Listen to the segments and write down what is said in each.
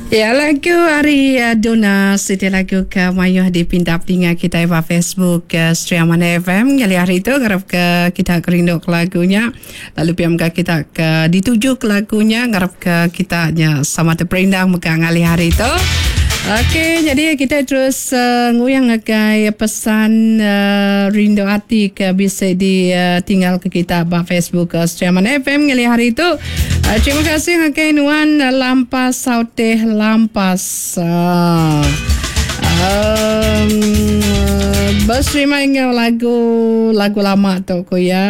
Ya lagu ari Duna siti lagu ke mayuh dipinta peninga kitai ba Facebook Sri Aman FM ngalih hari tu ngarap ke kita ke rindu ke lagu nya lalu pia mega kita ke dituju ke lagu nya ngarap ke kita nya sama teperindang mega ngalih hari tu. Okey jadi kita terus uh, nguyang ngagai pesan uh, rindu ati ke bisi ditinggal ke kita ba Facebook uh, Sri Aman FM ngalih hari tu. Uh, terima kasih ngagai nuan uh, Lampas Sauteh Lampas. Uh, um, berserima enggau lagu lagu lama tu ku ya.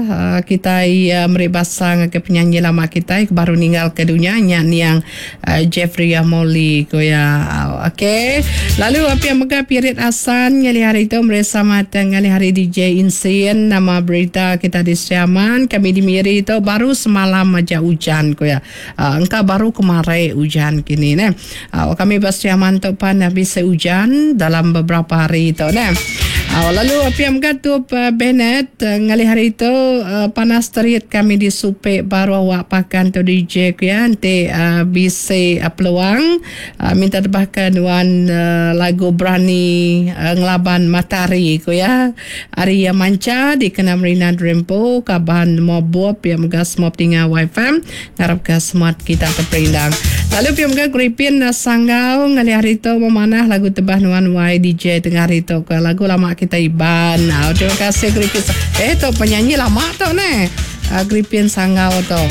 Uh, kita uh, meri basa ngagai penyanyi lama kita ke baru ninggal ke dunia nya niang uh, Jeffrey Amoli ku ya. Okey. Lalu apa yang mega Pirit Asan ngalih hari tu meri selamat ngalih hari DJ Insin nama berita kita di Sri Aman kami di Miri tu baru semalam aja ujan ku ya. Uh, engka baru kemari ujan kini neh. Uh, kami ba Sri Aman tu pan bisi ujan dalam beberapa hari tu neh. Uh, lalu apa yang mega tu uh, Bennett uh, ngalih hari tu uh, panas terit kami di Supek baru awak pakan tu DJ ku ya enti uh, bisi uh, peluang uh, minta tebahkan nuan uh, lagu berani uh, ngelaban matahari ku ya. Ari iya mancha dikena Marina Drempo kaban Mobup pia mega semua peninga YFM ngarapka semua kita teperindang. Lalu pia mega Gripin Sanggau ngalih hari tu memanah lagu tebah nuan Y DJ tengah hari tu ke lagu lama kita Iban. Oh, terima kasih Gripin. Eh tu penyanyi lama tu neh. Uh, Gripin Sanggau tu.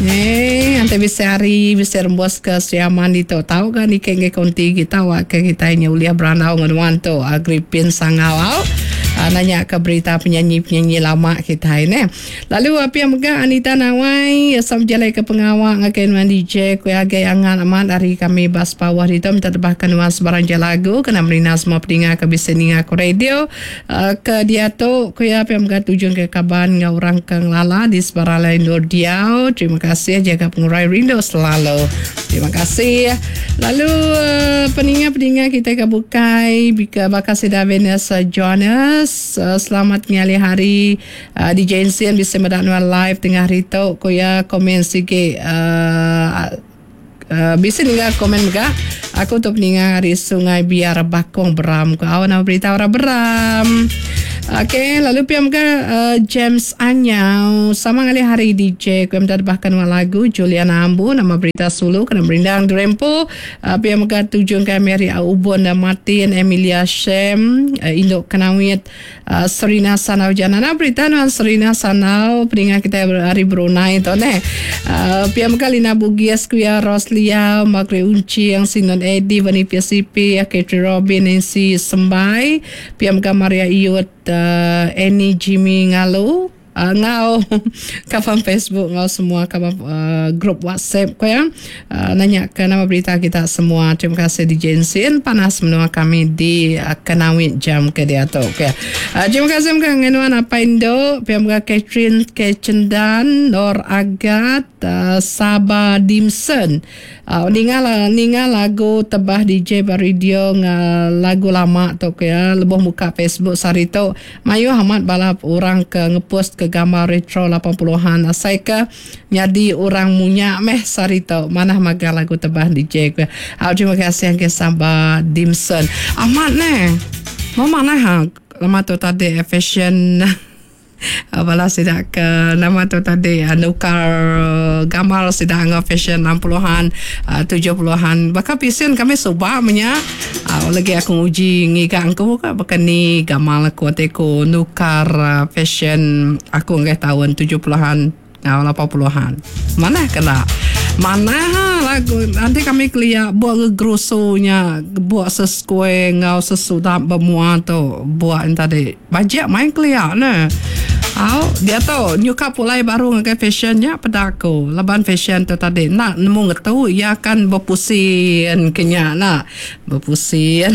Eh, nanti bisa hari bisa rembus ke Sri Aman ditu. Tau kan ikan ke konti kita wak ke kita ini uliah berandau dengan nuan tu. Uh, Gripin Sanggau. Au. Uh, nanya ke berita penyanyi-penyanyi lama kita ini. Lalu apa yang mega Anita Nawai sama jalai ke pengawa ngagai nuan DJ ku agai angan amat hari kami bas pawah ditu minta tebahkan nuan sebarang je lagu kena merina semua peninga ke bisa ninga ku radio. Uh, ke diatu ku iya pia mega tujung ke kaban enggau orang ke ngelala di sebarang lain endur diau. Terima kasih jaga pengurai rindu selalu. Terima kasih. Lalu uh, peninga-peninga kita ke bukai bika baka sida Venus Jonas uh, selamat ngalih hari uh, di Jensen bisa meda nuan live tengah hari tu ku iya komen sigi uh, Uh, bisi ninga komen mega. Aku tu peninga ari Sungai Biar Bakong Beram ku au nama berita orang Beram. Okey, lalu pia mega uh, James Anyau sama ngalih hari DJ ku minta debahkan nuan lagu Juliana Ambu nama berita sulu kena merindang Drempo. Uh, pia mega tujung kami ari Ubon dan Martin Emilia Shem uh, Induk Kenawit Uh, Serina Sanau Jana. Nah, berita nuan Serina Sanau peninga kita hari Brunei tu neh. Uh, pia mega Lina Bugis kuya Roslia, Margaret Uncing, Sinon Eddie, Vani PCP, Katri Robin, Nancy Sembai, pia mega Maria Iyut, uh, Annie Jimmy Ngalu, uh, ngau kaban Facebook ngau semua kaban uh, grup WhatsApp ko ya. Uh, nanya ke nama berita kita semua. Terima kasih di Jensin panas menua kami di uh, Kenawit jam ke diatu. Okay. Uh, terima kasih mga ngenuan apa Indo, pihak mga Catherine Kecendan, Nor Agat, uh, Saba Dimson. Uh, ninga ninga lagu tebah DJ ba radio nga lagu lama tu ke ya lebuh muka Facebook sehari tu mayuh amat bala orang ke ngepost ke gambar retro 80-an asai ke nyadi orang munya meh sehari tu manah maga lagu tebah DJ ke. Uh, terima kasih ke Saba Dimson. Amat neh. Mau manah ha lama tu tadi fashion Bala sida ke nama tu tadi nukar gambar sida enggau fashion 60-an, 70-an. Baka pisin kami suba menya lagi aku nguji ngiga engku ka baka ni gamal aku enti ku nukar fashion aku ngagai taun 70-an enggau 80-an. Manah ke enda? Manah ha lagu enti kami kelia buk gegerusu nya buk sesquare enggau sesudap ba mua tu buk nya tadi. Bajik main kelia ne. Au diatu nyuka pulai baru ngagai fashion nya peda aku laban fashion tu tadi enda nemu ngetu iya akan bepusin ke nya enda bepusin.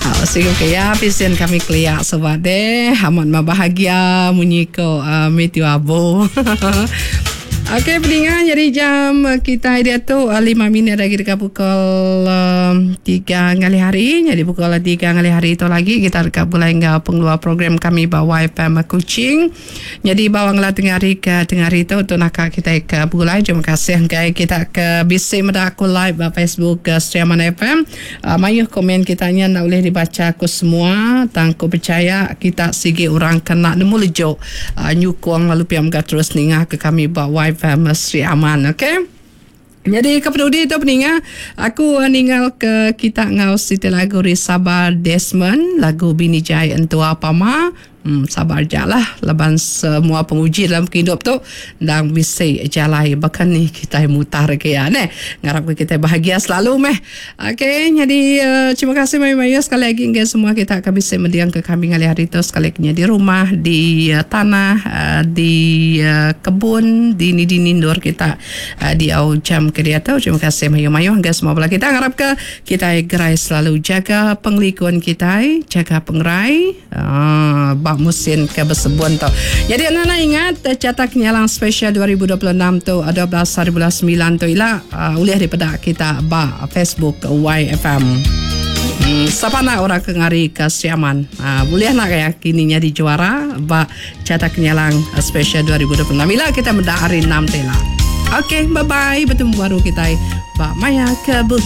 Au siku ke iya pisin kami kelia suba deh amat meh bahagia munyi ko uh, Matthew Abu. Okey peninga nyadi jam kitai diatu 5 minit lagi deka pukul 3 ngalih hari. Nyadi pukul 3 ngalih hari tu lagi kita deka begulai enggau pengeluar program kami ba YFM Kuching. Nyadi ba wang tengah hari ke tengah hari tu tu naka kitai ke begulai. Terima kasih enggai kita ke bisi meda aku live ba Facebook Sri Aman FM. Mayuh komen kita nya enda ulih dibacha aku semua tang aku pechaya kita sigi orang ke enda nemu lejuk nyukung lalu pia mega terus ninga ke kami ba YFM Sri Aman ok. Nyadi ke penudi tu peninga aku ningal ke kita enggau siti lagu Risaba Desmond lagu Bini Jai Entua Pama. Sabar aja lah laban semua penguji dalam pengidup tu endang bisi jalai baka ni kitai mutar ke iya neh. Ngarap ke kitai bahagia selalu meh. Ok nyadi terima kasih mayuh-mayuh sekali agi ngagai semua kita ke bisi mending ke kami ngalih hari tu sekali ke nya di rumah, di tanah, di kebun, di dini-dini endur kita diau jam ke diatu. Terima kasih mayuh-mayuh ngagai semua bala kita. Ngarap ke kitai gerai selalu jaga pengelikun kitai, jaga pengerai. Aaa ba musin ke besebun tu. Jadi anak anak ingat Carta Kenyalang Special 2026 tu 12 hari bulan 9 tu ila uh, ulih dipeda kita ba Facebook YFM. Hmm, siapa nak orang ke ngari ke Sri Aman? Uh, boleh nak ya kini nyadi juara ba Carta Kenyalang Special 2026. Ila kita meda hari 6 tu ila. Okay, bye-bye. Bertemu baru kita ba maya ke buka.